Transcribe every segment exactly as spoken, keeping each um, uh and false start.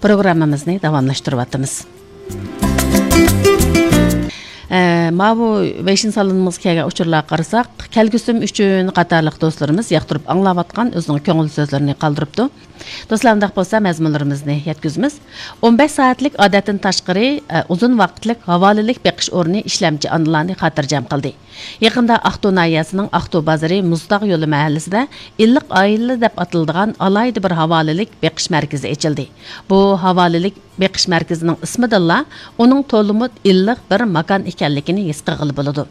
پروگراممىمىزنى داۋاملاشتۇرۇۋاتىمىز. ئە، ماۋۇ ۋېيشىن سالونىمىزغا كەلگەن ئۇچۇرلارغا قارىساق، كەلگۈسىم ئۈچۈن قاتارلىق دوستلىرىمىز ياقتۇرۇپ ئاڭلاۋاتقان ئۆزىنىڭ كۆڭۈل سۆزلىرىنى قالدۇرۇپتۇ. دوستلار، ئۇنداق بولسا مەزمۇنلىرىمىزنى يەتكۈزىمىز. ئون بەش سائەتلىك ئادەتتىن تاشقىرى، ئە، ئۇزۇن ۋاقىتلىق ھاۋالىلىك بېقىش ئورنى ئىشلەمچى ئانىلارنى خاتىرجەم قىلدى. يېقىندا ئاقتۇ ناھىيەسىنىڭ ئاقتۇ بازىرى مۇزتاغ يولى مەھەللىسىدە ئىللىق ئائىلە دەپ ئاتىلىدىغان ئالاھىدە بىر ھاۋالىلىك بېقىش مەركىزى ئېچىلدى. بۇ ھاۋالىلىك بېقىش مەركىزىنىڭ ئىسمىدىنلا ئۇنىڭ تولىمۇ ئىللىق بىر ماكان ئىكەنلىكىنى ھېس قىلغىلى بولىدۇ.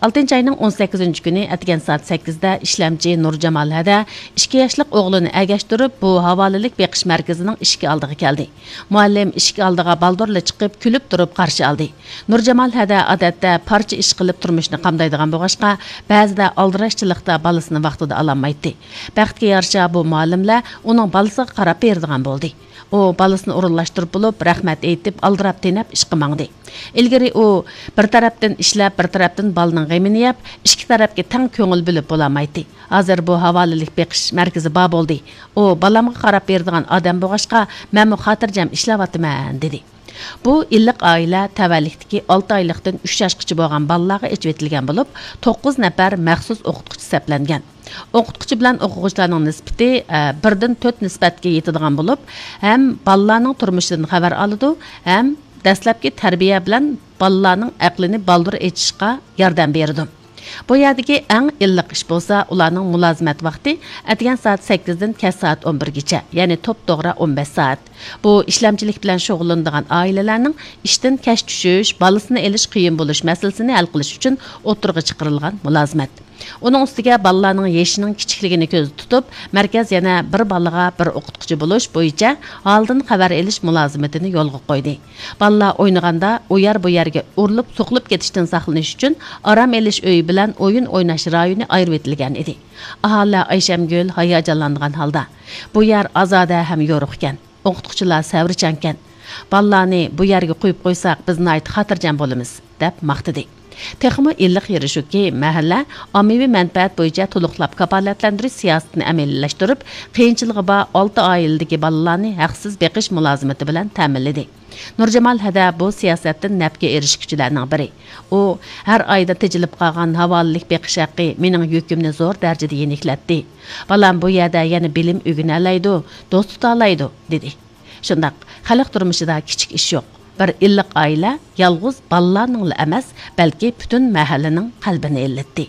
ئالتىنچى ئاينىڭ ئون سەككىزىنچى كۈنى ئەتىگەن سائەت سەككىزدە ئىشلەمچى نۇرجامال ھەدە ئىككى ياشلىق ئوغلىنى ئەگەشتۈرۈپ، بۇ ھاۋالىلىك بېقىش مەركىزىنىڭ ئىشىك ئالدىغا كەلدى. مۇئەللىم ئىشىك ئالدىغا بالدۇرلا چىقىپ، كۈلۈپ تۇرۇپ قارشى ئالدى. نۇرجامال ھەدە ئادەتتە پارچە ئىش قىلىپ تۇرمۇشنى قامدايدىغان بولغاچقا، بەزىدە ئالدىراشچىلىقتا بالىسىنى ۋاقتىدا ئالالمايتتى. بەختكە يارىشا، بۇ مۇئەللىملەر ئۇنىڭ بالىسىغا قاراپ بېرىدىغان بولدى. ئۇ بالىسىنى ئورۇنلاشتۇرۇپ بولۇپ، رەھمەت ئېيتىپ، ئالدىراپ تېنەپ ئىشقا ماڭدى. ئىلگىرى ئۇ بىر تەرەپتىن ئىشلەپ، بىر تەرەپتىن بالىنىڭ غېمىنى يەپ، ئىككى تەرەپكە تەڭ كۆڭۈل بۆلۈپ بولالمايتتى. ھازىر بۇ ھاۋالىلىك بېقىش مەركىزى بار بولدى. ئۇ بالامغا قاراپ بېرىدىغان ئادەم بولغاچقا، مەنمۇ خاتىرجەم ئىشلەۋاتىمەن، دېدى. بۇ ئىللىق ئائىلە تەۋەلىكتىكى ئالتە ئايلىقتىن ئۈچ ياشقىچە بولغان بالىلارغا ئېچىۋېتىلگەن بولۇپ، توققۇز نەپەر مەخسۇس ئوقۇتقۇچى سەپلەنگەن. ئوقۇتقۇچى بىلەن ئوقۇغۇچىلارنىڭ نىسبىتى، ئە، بىردىن تۆت نىسبەتكە يېتىدىغان بولۇپ، ھەم بالىلارنىڭ تۇرمۇشىدىن خەۋەر ئالىدۇ، ھەم دەسلەپكى تەربىيە بىلەن بالىلارنىڭ ئەقلىنى بالدۇر ئېچىشقا ياردەم بېرىدۇ. بۇ يەردىكى ئەڭ ئىللىق ئىش بولسا، ئۇلارنىڭ مۇلازىمەت ۋاقتى ئەتىگەن سائەت سەككىزدىن كەچ سائەت ئون بىرگىچە، يەنى توپتوغرا ئون بەش سائەت. بۇ ئىشلەمچىلىك بىلەن شۇغۇللىنىدىغان ئائىلىلەرنىڭ ئىشتىن كەچ چۈشۈش، بالىسىنى ئېلىش قىيىن بولۇش مەسىلىسىنى ھەل قىلىش ئۈچۈن ئوتتۇرىغا چىقىرىلغان مۇلازىمەت. ئۇنىڭ ئۈستىگە بالىلارنىڭ يېشىنىڭ كىچىكلىكىنى كۆزدە تۇتۇپ، مەركەز يەنە بىر بالىغا بىر ئوقۇتقۇچى بولۇش بويىچە ھالدىن خەۋەر ئېلىش مۇلازىمىتىنى يولغا قويدى. بالىلار ئوينىغاندا ئۇ يەر بۇ يەرگە ئۇرۇلۇپ سوقۇلۇپ كېتىشتىن ساقلىنىش ئۈچۈن ئارام ئېلىش ئۆيى بىلەن ئويۇن ئويناش رايونى ئايرىۋېتىلگەن ئىدى. ئاھالىلەر ئايشەمگۈل ھاياجانلانغان ھالدا، بۇ يەر ئازادە ھەم يورۇق ئىكەن، ئوقۇتقۇچىلار سەۋرچانكەن، بالىلارنى بۇ يەرگە قويۇپ قويساق، بىز ناھايىتى خاتىرجەم بولىمىز، دەپ ماختىدى. تېخىمۇ ئىللىق يېرى شۇكى، مەھەللە ئاممىۋى مەنپەئەت بويىچە تولۇقلاپ كاپالەتلەندۈرۈش سىياسىتىنى ئەمەلىيلەشتۈرۈپ، قىيىنچىلىقى بار ئالتە ئائىلىدىكى بالىلارنى ھەقسىز بېقىش مۇلازىمىتى بىلەن تەمىنلىدى. نۇرجامال ھەدە بۇ سىياسەتتىن نەپكە ئېرىشكۈچىلەرنىڭ بىرى. ئۇ، ھەر ئايدا تېجىلىپ قالغان ھاۋالىلىك بېقىش ھەققى مېنىڭ يۈكۈمنى زور دەرىجىدە يېنىكلەتتى. بالام بۇ يەردە يەنە بىلىم ئۆگىنەلەيدۇ، دوست تۇتالايدۇ، دېدى. شۇنداق، خەلق تۇرمۇشىدا كىچىك ئىش يوق. بىر ئىللىق ئائىلە يالغۇز بالىلارنىڭلا ئەمەس، بەلكى پۈتۈن مەھەللىنىڭ قەلبىنى ئىللىتتى.